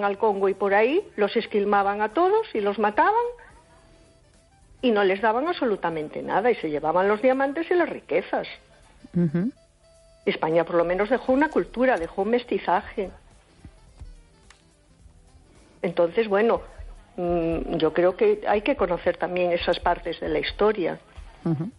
al Congo y por ahí, los esquilmaban a todos y los mataban y no les daban absolutamente nada y se llevaban los diamantes y las riquezas. Uh-huh. España por lo menos dejó una cultura, dejó un mestizaje. Entonces, bueno, yo creo que hay que conocer también esas partes de la historia. Uh-huh.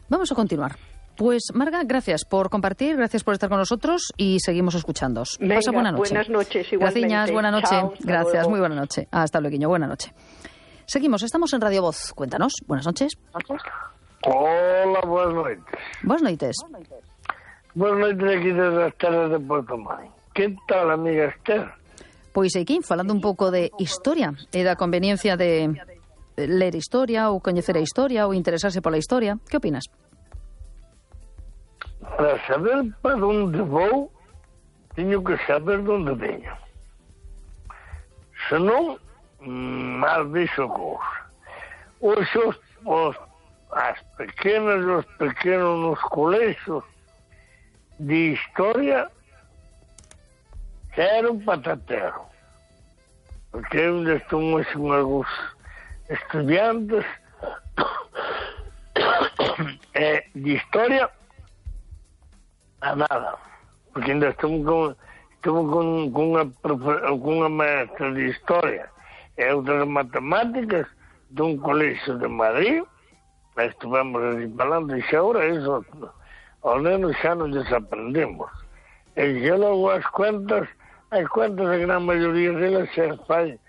Vamos a continuar. Pues, Marga, gracias por compartir, gracias por estar con nosotros y seguimos escuchándoos. Pasa buena noche. Buenas noches, igualmente. Gracias, buena noche. Chao, gracias, luego. muy buena noche. Hasta luego, buena noche. Seguimos, estamos en Radio Voz. Cuéntanos, buenas noches. Hola, buenas noites. Buenas noites. Buenas noites aquí desde as terras de Porto Marín. Que tal, amiga Esther? Pois aquí, falando un pouco de historia e da conveniencia de ler historia ou coñecer a historia ou interesarse pola historia. Que opinas? Para saber para onde vou, teño que saber de onde veño. Senón, mal vexo cousa. As pequenas e os pequenos nos colexios de historia era un patatero. Porque ainda estou con algúns estudiantes de historia a nada. Porque ainda estou con unha maestra de historia e outra de matemáticas dun colexio de Madrid. Estuvemos ali falando e xa ahora eso ao menos xa non desaprendemos. E xa logo as cuentas a gran maioría delas xa fai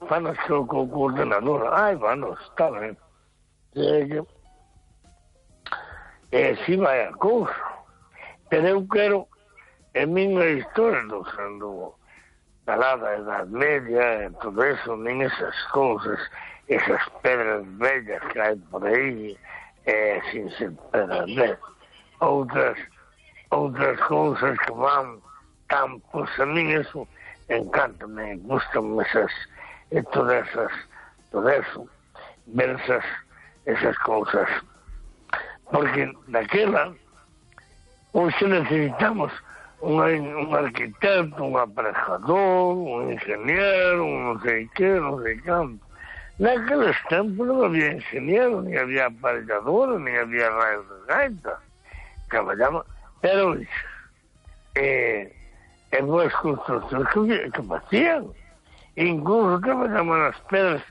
fanas co ordenador. Ai, bueno, está ben. E así vai a cousa. Pero eu quero en min a historia do da Edad Media e todo eso, nin esas cousas, esas pedras bellas que hai por aí, sin ser pedras bellas. Outras cousas que van campos, a mí eso encántame, gustan esas, e todo eso, ver esas cousas. Porque daquela, hoxe necesitamos un arquitecto, un aparejador, un ingeniero, un non sei canto. Naqueles tempos non había ingeniero, ni había aparellador, ni había raios de gaita. Traballaba, pero en boas construccións que facían. Incluso traballaban as pedras,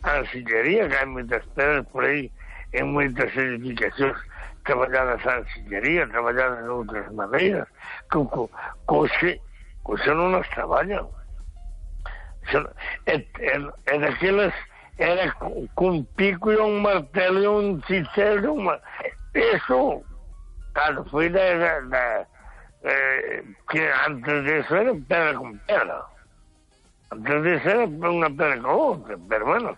a arcillería, que hai moitas pedras por aí, en moitas edificacións, traballadas a arcillería, traballadas de outras maneiras, coxe non as traballan. E daquelas era cun pico e un martelo e un cicelo, eso, claro, foi que antes disso era pedra con pedra. Antes disso era unha pedra con outra, pero bueno.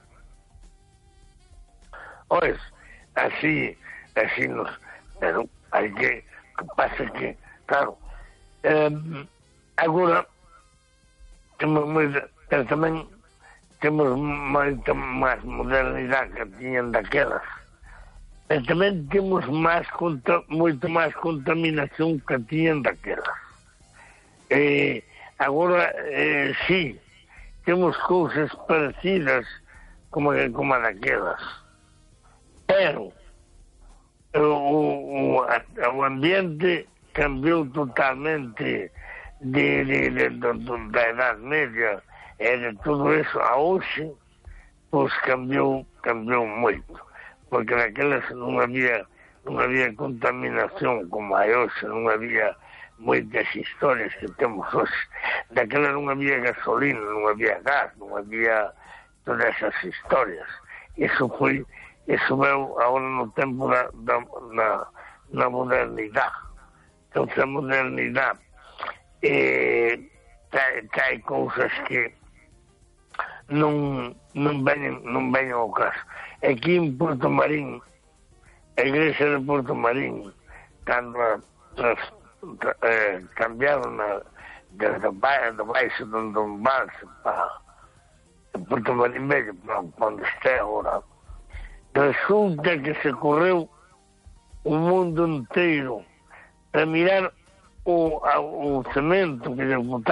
Ois, así nos... Pero hai que pasa que, claro, agora pero tamén temos moita máis modernidade que tiñan daquelas. E tamén temos moito máis contaminación que tiñan daquelas. Agora, sí, temos cousas parecidas como a daquelas. Pero o ambiente cambiou totalmente da Edad Media e de todo eso a hoxe, pois cambiou moito, porque naquelas non había contaminación como hai hoxe, non había moitas historias que temos hoxe. Daquela non había gasolina, non había gas, non había todas esas historias. Eso veu agora no tempo na modernidade. Entón, a modernidade hai cousas que non veñen ao caso. Aquí en Porto Marín, a igrexa de Porto Marín, cando cambiaron desde baixo de Don Balse para Porto Marín Bello, para onde está agora, resulta que se correu o mundo inteiro para mirar o cemento que lle botaron